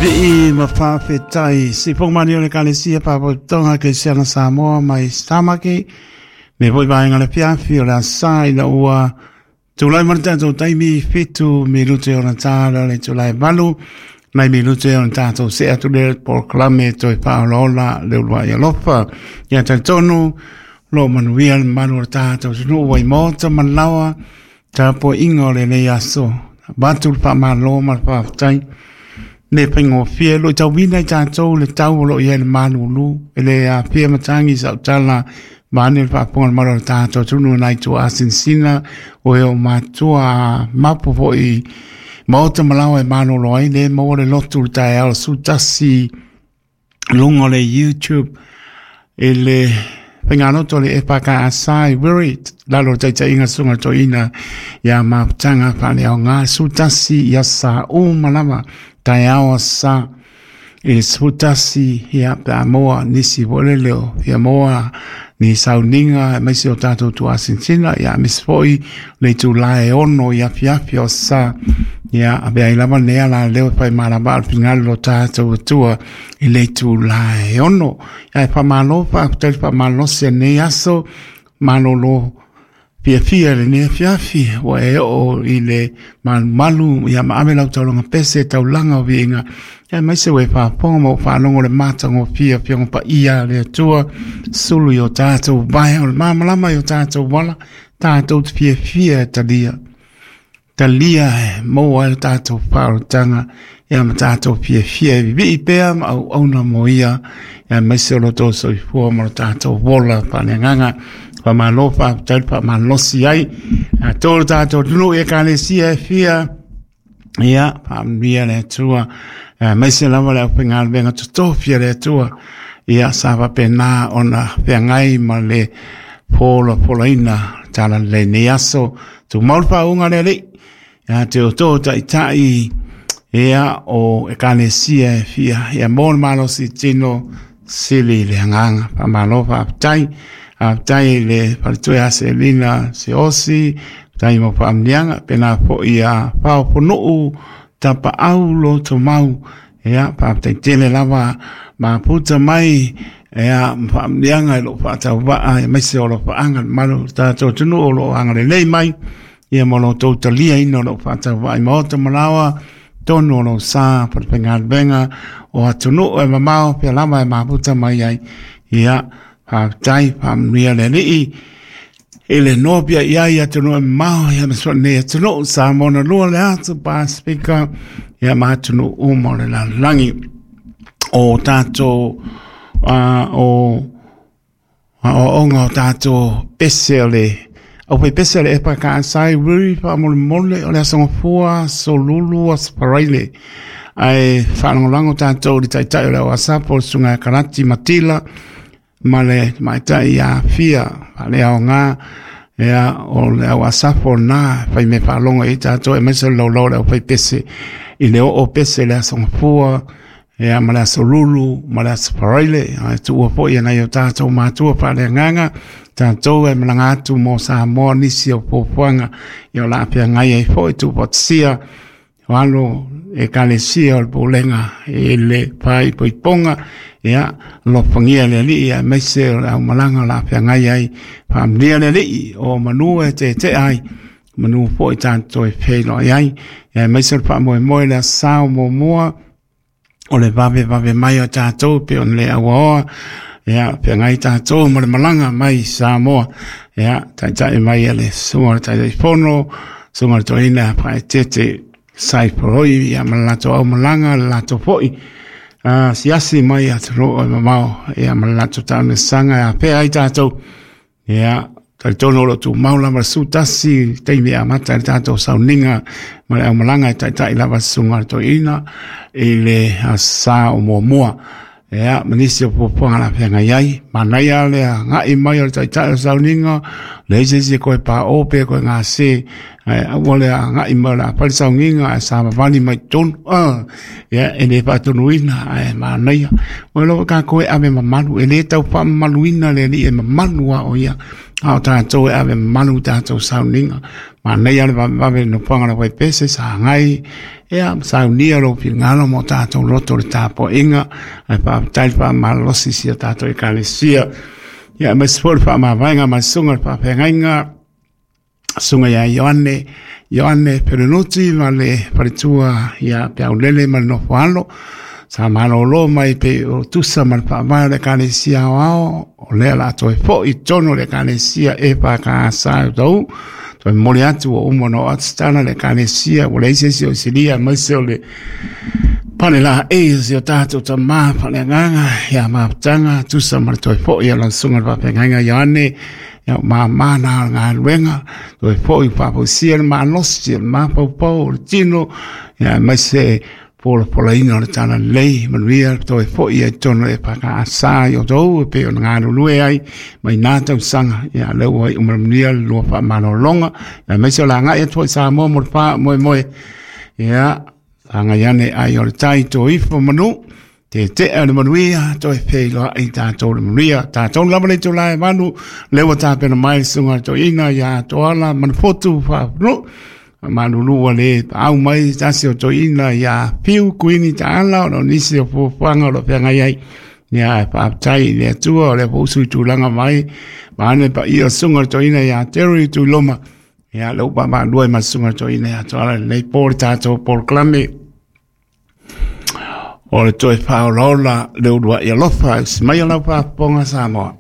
Vii ma faafetai sifoga mani o le Ekalesia Faalapotopotoga Kerisiano Samoa mai Samaki me foi vaega le fiafi o le asa ina ua tulai mai le tatou taimi 7 minute ona ta le itula e 8 nai minute ona tatou see atu le polokalame toe faaolaola le uluai alofa. Ia talitonu lo manuia le mamalu o le tatou atunuu ua i maota ma laoa tapuaiga o lenei aso. Avatu le faamalo ma le faafetai le faigofie lo tauina i tatou le tau o lo o i ai le malulu e le afia matagi sautala vaeane le faafofoga le mamalu o le tatou atunuu nai tuaasinasina o e o matua mapu foi maota ma laoa e malolo ai le maua le lotu le taeao 11 luga o le YouTube i le faigaloto le EFKS i Wiri lalo o le taitaiga susuga le toeaina ia Mafutaga Faaleaoga 11 ia sa uma lava taeao sa i le 11 ia pe a maua nisi foi lele o fia maua ni sauniga aemaise o tatou tuasinasina ia aemaise foi le itula e 6 i afiafi o sa ia avea ai lava lenei ala leo e fai malava le finagalo o tatou Atua i le itula e 6. Ae faamalo faafetai le faamalosi lenei aso malolo fiafia lenei afiafi ua e oo i le malumalu ia ma ave lau taulaga pese taulaga o viiga aemaise ua e faafofoga ma ua faalogo le matagofie Afioga Paia a le Atua sulu i o tatou vae o le malamalama i o tatou ala tatou te fiafia e talia talia e maua ai le tatou faaolataga ia ma tatou fiafia e vivii pea ma auauna mo ia aemaise o lo tou soifua ma lo tatou ola faaleagaga. Faamalo faafetai le faamalosi ai a tolu tatou atunuu i Ekalesia e fia ia faamanuia le Atua aemaise lava le aufaigaluega totofi a le Atua ia sa faapena ona feagai ma le folafolaina tala lelei nei aso. Tumau le faauuga le Alii ia te outou taitai ia o Ekalesia e fia ia mo le malosi tino sili le agaga. Faamalo faafetai. Faafetai i le faletua ia Selina Seosi, faafetai mo faamanuiaga pena foi ia Faoponuu Tapaau Lotomau ia faafetai tele lava maputa mai ia ma faamanuiaga i lou faatauvaa aemaise o alofaaga le mamalu o le tatou atunuu o lo o agalelei mai ia ma lo outou taliaina o lou faatauvaa i maota ma laoa tonu o lou sa falefaigaluega o atunuu e mamao pea lava e maputa mai ai ia faafetai faamanuia le Alii i le noa pia i ai atunuu e mamao ia ma so nei atunuu Samoa na lua le atu Pasifika ia ma atunuu uma o le lalolagi o tatou o aoaoga o tatou pese o le aufaipese o le EFKS i Wiri faamolemole o le Aso Gafua, Aso Lulu, Aso Faraile ae faalagolago tatou i le taitai o le au asapo o le susuga ia Karati Matila ma le tamaitai ia Afia Faaleaoga ia o le au asafo lena fai mea faalogo i tatou aemaise o le laulau o le aufaipese i le oo pese i le Aso Gafua ia ma le Aso Lulu ma le Aso Faraile ae tuua foi e nai o tatou matua faaleagaga tatou e malaga atu mo Samoa nisi o fuafuaga ia o le a feagai ai foi tuufaatasia o alo Ekalesia o le Pulega i le faaipoipoga ia alofagia le Alii aemaise o le aumalaga o le a feagai ai faamanuia le Alii o manu e tetea ai manu foi tatou e feiloai ai aemaise o le faamoemoe le aso sa o muamua o le vavevave mai o tatou pe ona le auaoa ia feagai tatou ma le malaga mai Samoa ia taitai mai e le susuga o le Taitaifono susuga o le toeaina Faaeteete Saifoloi ia ma le latou aumalaga le latou foi asiasi mai atunuu e mamao ia ma le latou taamilosaga e afea ai tatou ia talitonu o lo o tumau lava le 11 taimi e amata ai le tatou sauniga ma le aumalaga e taitai lava le susuga o le toeaina i le aso sa o muamua ia ma nisi o fuafuaga la feagai ai. Manaia le agai mai o le taitai o sauniga leai se isi e koe pao pe koe gase ae aua le agai mai o le a fai le sauniga ae savavali mai totonu ia e le faatonuina ae manaia o lava tatou e ave mamalu e le tau faamamaluina le Alii e mamalu a o ia. A o tatou e ave mamalu i tatou sauniga. Manaia le vavevave i le nofoaga o le Vaipese, sagai, ia, saunia lou finagalo mo tatou loto i le tapuaiga, ae faafetai le faamalosi i si a tatou Ekalesia. Ia, aemaise foi le faamavaega ma le susuga i le faafeagaiga, Susuga ia Ioane, Ioane Pelenuti ma le faletua ia Peaulele ma le nofo alo. Sa malolo mai pe o tusa ma le faavae o le Ekalesia Aoao, o lea la toe foi i totonu o le Ekalesia EFKS o Tau. Toe momoli atu ua uma ona oo atu se tala i le Ekalesia, ua leai se isi o isilia aemaise o le pale laei o si o tatou tama faaleagaga ia Mafutaga, tusa ma le toe foi o lau susuga i le faafeagaiga Ioane. Ia o mamā na o le galuega, toe foi faafoisia le malosi o le mafaufau o le tino, ia aemaise polapolaina o le talalelei, manuia toe foi ai totonu o le EFKS i outou e pei ona galulue ai mai na tausaga. Ia lea ua iu manuia le lua faamalologa, aemaise o le agai atu foi i Samoa mo le faamoemoe. Ia sagai ane ai o le tai toifo manu, tetea le manuia, toe feiloai tatou le manuia. Tatou lava le itula e 8, lea ua tapena mai le susuga i le toeaina ia Toala Manufotu Faafanuu. Malulu ua le paau mai tasi o toeaina ia Fiu Kuini Taala ona o nisi o fuafuaga o lo o feagai ai. Ia, ae faafetai i le Atua o lea foi ua sui tulaga mai vaeane le paia o susuga i le toeaina ia Terry Tuiloma. Ia, lea ua vaavaalua ai ma le susuga i le toeaina ia Toala i lenei po le tatou polokalame o le toe faaolaola le uluai alofa. Usi mai lau faafofoga Samoa.